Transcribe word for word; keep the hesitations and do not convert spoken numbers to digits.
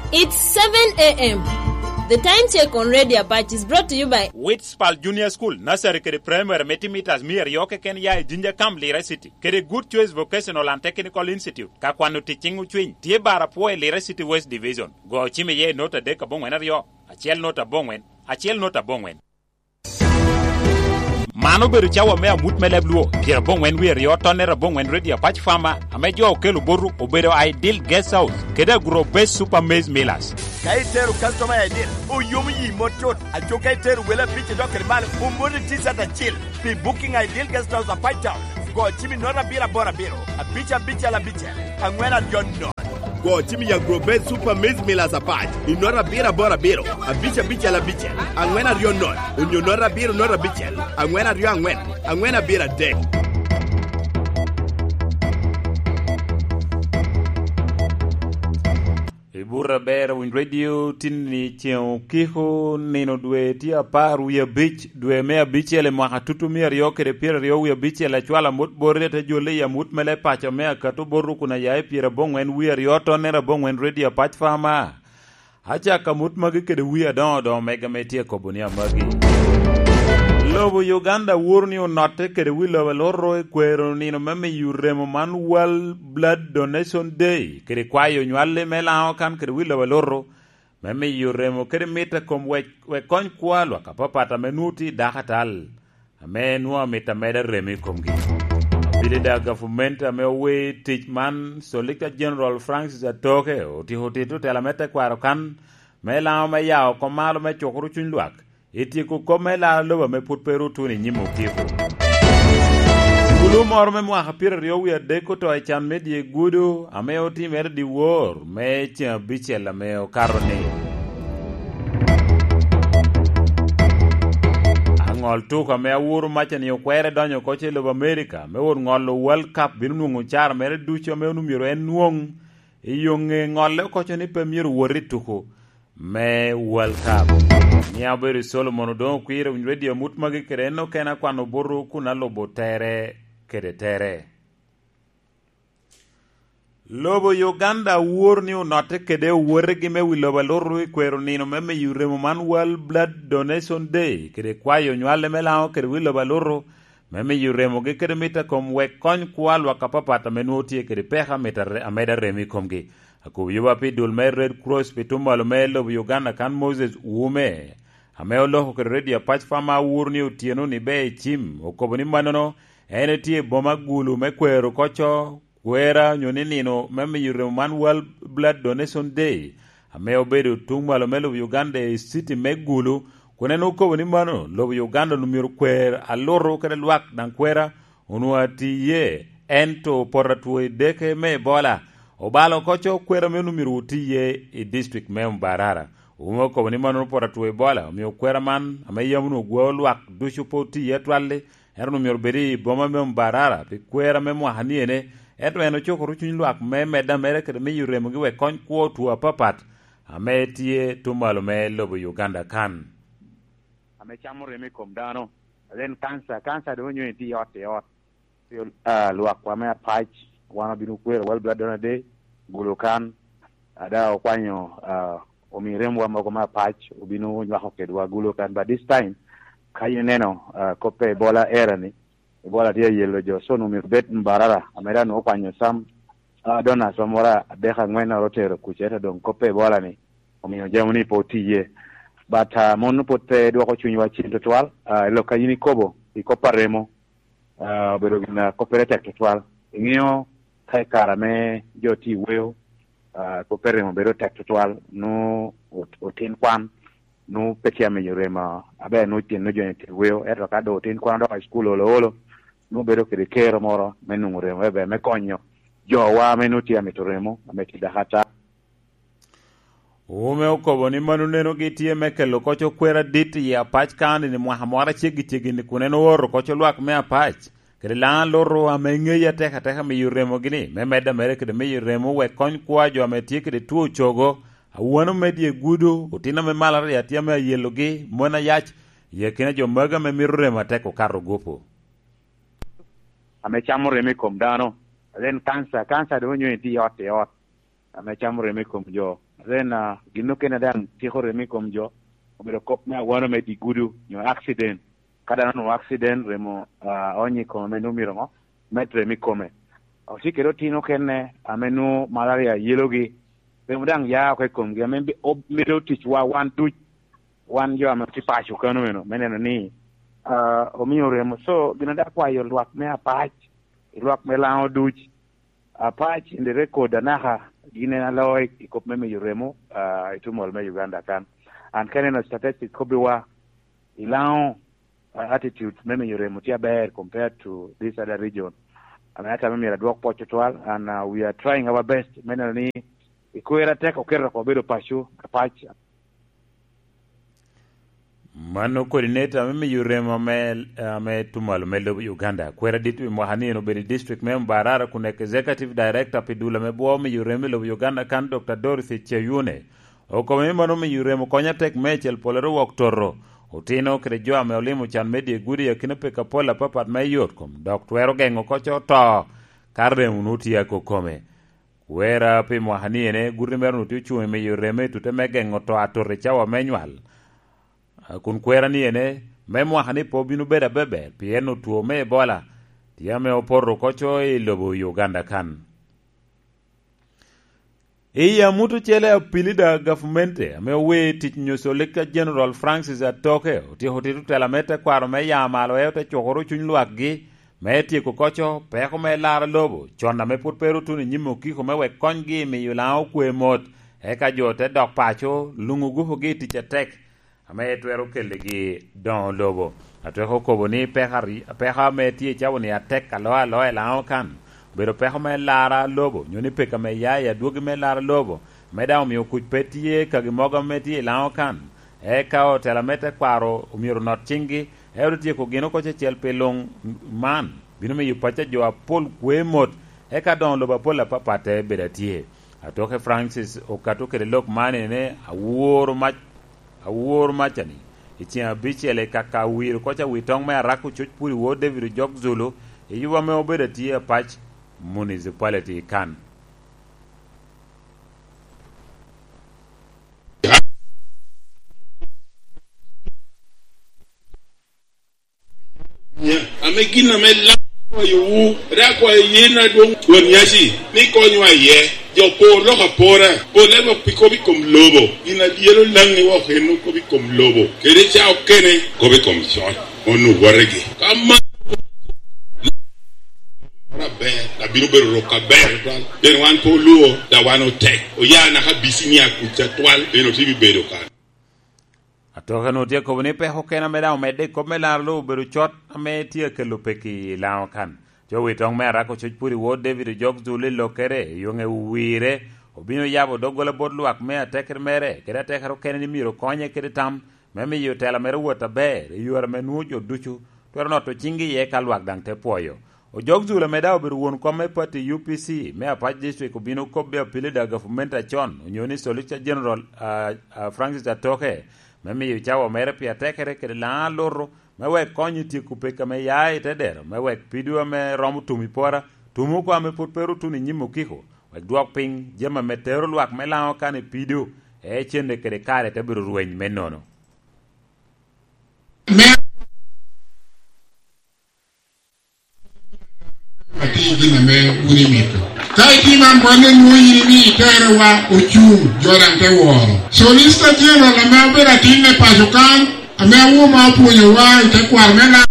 It's seven a m. The time check on Radio Apache is brought to you by Witspal Junior School, Nursery kede Primary me timitas mia aryo keken ya i Jinja Camp, Lira City, kede Good Choice Vocational and Technical Institute. Ka kwano tic ciŋ ocwiny, tye bar apwo i Lira City West Division. Go cim iye i nota adek aboŋwen aryo, acel nota aboŋwen, acel nota aboŋwen. Man obedo cawa me amut me leb Luo, pyerabongwen wie aryo tonnere abongwen Radio Apac Farmer, ame jo okelo botu obedo Ideal Guest House, kede Agro Base Super Maize Millers. Ka itero customer Ideal, oyomo yi mot tut. Aco ka itero wele abic idok kede malo, omoni T-shirt acil. Pi booking Ideal Guest House Apac Town, go cim i nota abiro aboro abiro, abic abicel abicel, angwen aryo nono. Go cim i Agro Base Super Maize Millers Apac i nota abiro aboro abiro, abic abicel abicel, angwen aryo nono, onyo nota abiro nota abicel, angwen aryo angwen, angwen abiro adek. I buto aber, Winy Radio tin ni ceŋ okiko, nino dwe tye apar wie abic, dwe me abicel i mwaka tutu mia aryo kede pyeraryo wie abicel, acwalo amut boti, ate jolle i amut me leb paco me Akato Boru kun aya i pyerabongwen wie aryo tonnere abongwen Radio Apac Farmer. Acako amut magi kede wie adoŋo doŋo mega me tye kobo ni amagi. Lobo Uganda woro ni onotte kede wi lobo alutu i kwero nino me miyo remo man World Blood Donation Day, kede kwayo nywalli me Laŋo kan kede wi lobo alutu, me miyo remo kede mit a kom wek, wek kony kwo a lwak apapat ame nwoŋo tye i dako atal, ame nwoŋo amito ameda remo i komgi. Abili daŋ gavumenti ame owe tic man, Solicitor General Francis Atoke, otiko tit otela me tekwaro kan, me Laŋo me yao kom malo me cukoro cuny lwak, i tyeko kop me laro lobo ame pwod pe ru otuno i nyim okiko. Kulu moro me mwaka pyeraryo wie adek oto i can me dye gudo ame otimere dyewor me ceŋ abicel ame okato-ni. Aŋol tuko ame awuro maca-ni okwere donyo oko ce i lobo Amerika me wot ŋolo World Cup bino nwoŋo caro mere ducu ame onwoŋo myero en nwoŋ i yo ŋe ŋolle oko co ni pe myero wot i tuko me World Cup. Ni abedo i Solomon Odoŋo Okwir, Winy Radio, amut magi kede en okene akwano botu kun alubo tere kede tere. Lobo Uganda wor ni onotte kede owotegi me wi lobo alutu i kwero nino me miyo remo man World Blood Donation Day, kede kwayo nywale me Laŋo kede wi lobo alutu, me miyo remogi kede mit a kom wek kony kwo a lwak apapat ame nwoŋo tye kede peko amito are-, ameda remo i komgi. Akobo yoba pi dul me Red Cross pi tuŋ malo me lobo Uganda kan Moses Wume, ame oloko kede Radio Apac Farmer awuro ni otyeno ni ber i cim, okobo ni mannono en etye i boma Gulu me kwero koco kwera onyo ni nino me miyo remo man World Blood Donation Day, ame obedo tuŋ malo me lobo Uganda i city me Gulu, kun en okobo ni mano lobo Uganda onwoŋo myero kwer alutu kede lwak daŋ kwera onwoŋo ati iye, ento poto atwo i deke me Ebola obalo oko co kwera ame onwoŋo myero oti iye i district me Mbarara. Owume okobo ni mano poto atwo Ebola omio kwera man ame yam onwoŋo gwao lwak ducu pe oti iye atwal-li, ento onwoŋo myero bed i boma me Mbarara pi kwera me mwaka ni ene, ento en ocukoro cuny lwak me medde ameda kede miyo remogi wek kony kwo otwo apapat ame tye tuŋ malo me lobo Uganda kan. Ame camo remo i kom dano, alen kanca, kanca doŋ onyo itye i ot i ot. Pi, ah, lwakwa me Apac, wan obino kwero World Blood Donor Day, Gulu kan, ada okwanyo, ah, omi remwa mogo me Apac, obino nywako kedwa Gulu kan. But this time, ka in ineno, ah, kop pe Ebola era ni, Ebola tye ayelo jo, so onwoŋo myero bed Mbarara, ame dano okwanyo sam, ah, donors wa moro adek angwen oro otero kuca, ento doŋ kop pe Ebola ni, omiyo jami ni pe otiye. But, ah, mon pwod pe dwoko cunywa cen tutwal, ah, i lok a in ikobo, i kop a remo, ah, obedo gin a koppere tek tutwal. Iŋeo ka i kare ame jo tye i weo, ah, kop pe remo bedo tek tutwal, nwoŋo ot-, otin kwan, nwoŋo pe tye amiyo remo, aber nwoŋo tyen nwoŋo jo ni tye i weo, ento ka doŋ otin kwan odoko i cukul olo olo, nwoŋo bedo kede kero moro me nwoŋo remo, ebe me konyo jowa ame nwoŋo tye amito remo, ame tye dako ata. Owume okobo ni mano nenogi tye me kelo koc okwer adit i Apac County ni mwaka moro aceggi ceggi ni kun en ooro koc olwak me Apac kede Laŋo Alutu ame ŋeyi atek ateka miyo remogi ni me medde ameda kede miyo remo wek kony kwo a jo ame tye kede two ocogo, awano me dye gudo, otin ame malaria tye ame ayelogi, mon ayac, i akina jo magi ame mito remo atek okato gupu. Ame camo remo i kom dano, alen kanca, kanca doŋ onyo itye i ot i ot. ame camo remo i kom jo. Then, ah, gin okene daŋ tyeko remo i kom jo, obedo kop me awano me digudu, nyo accident. Ka dano onwoŋo accident, remo, ah, onyo i kome, ame nwoŋo myero ŋo? Med remo i kome. Ocikere otino okene ame nwoŋo malaria yelogi, remo daŋ ya oko i komgi, ame bi-, ob-, medo ticwa wan duc, wan jo ame tye paco kano meno, me neno ni, ah, omio remo. So, gin daŋ akwayo lwak me Apac, i lwak me Laŋo duc, Apac in the record anaka, gin en aloo i, i kop me miyo remo, ah, i tumal me Uganda kan. An ka ineno statistics kobbiwa, i Laŋo, ah, attitude me miyo remo tye aber compared to this other region. Ame atamo myero adwok pwod tutwal, and, ah, we are trying our best me neno ni i kwero atek oketo oko obedo paco, Apac. Mano coordinator me miyo remo ame, ame tumalo me lobo Uganda. Kwera dit pi mwaka ni en obedo i district me Mbarara kun executive director pi dul ame bwo miyo remo i lobo Uganda kan, Doctor Dorothy Cheyune, okobo ni mano miyo remo konyo atek meicel pwolere wok toto otino kede jo ame olimo can me dye gudi i akina peko apol apapat me yot kom, dok twero geŋo koco to ka remo nu tye akokome. Kwera pi mwaka ni ene, guti mere onwoŋo tye ocuŋ i miyo remo i tute me geŋo to atot i cawa me nywal. A, kun kwera ni ene, me mwaka ni pe obino bedo abeber, pien otwo me Ebola tye ame opoto koco i lobo Uganda kan. I amut ocele, apilida gavmente ame owe tic nyo Solicitor General Francis Atoke otyeko tito tela me tekwaro me ya malo, en ote cukoro cuny lwakgi me tyeko koco peko me laro lobo, con ame pwod pe ru otuno i nyim okiko me wek konygi i miyo Laŋo okwe mot, eka jo te dok paco, luŋ ogukogi i tic atek ame twero keligi doŋo lobo. Atweko kobo ni peko ari-, peko ame tye i cawa-ni atek aloa aloa i Laŋo kan, obedo peko me laro lobo, nyo ni peko ame ya i adwogi me laro lobo, ame daŋ omio kuc pe tye kagi mogo ame tye i Laŋo kan. Eka otela me tekwaro omyero onot ciŋgi, ento tyeko gin oko cecel pi luŋ man bino miyo pacca jo apol kwe mot, eka doŋo lobo apol apapat te bedo atye. Atoke Francis okato kede lok man ni, "Aworo mac, aworo macani i ceng abicel i kaka awiro koca wi toŋ me Arako Coc Puri Wod David Ojok Zulu, i yuba ame obedo atye Apac Municipality kan." Ame gin ame Laŋo akwayowu, rik akwayo yin adwoŋ Won Nyaci ni konywa iye. Jo por lok apora, pole lok pi kop i kom lobo. Gin a dyelo Laŋ ni wok en kop i kom lobo, kede ca okene kop i kom coc. Onwoŋo wotegi. Ka man moro aber, abino bedo rok aber tutwal. Pien wan pe olwo, da wan otek. Oya naka bicinia kuca twal, pien otye bibedo kan. Atoke onwoŋo tye akobo ni peko okene ame daŋ omedde i kop me laro lobo obedo cot ame tye akelo peki i Laŋo kan. Jo wi toŋ me Arako Coc Puri Wod David Ojok Zulu i lokkere, i yoŋe owire, obino yabo doggola bot lwak me atekere mere, kede atekere okene ni myero konye kede tam me miyo tela mere wot aber i yore ame nwoŋo jo ducu twero noto ciŋgi iye ka lwak daŋ te pwoyo. Ojok Zulu ame daŋ obedo won kom me pati U P C me Apac District obino kobbe apilida gavumenti acon, onyo ni Solicitor General, ah, ah, Francis Atoke, me miyo cawa mere pi atekere kede Laŋo alutu, me wek kony i tyeko peko ame ya i te dero, me wek pido ame romo tum i pora, tum oko ame pwod pe ru tuno i nyim okiko, wek dwok piny jami ame tero lwak me Laŋo kan i pido, ee cente kede kare te bedo rweny me nono. Me atye gin ame wun imito. Ka itimo man, wan enwoŋo yin imi iterowa ocuŋ, jo daŋ te woro. Solicitor General ame obedo atin me paco kan, ame awoba opwonyowa i tekwaro me Laŋo,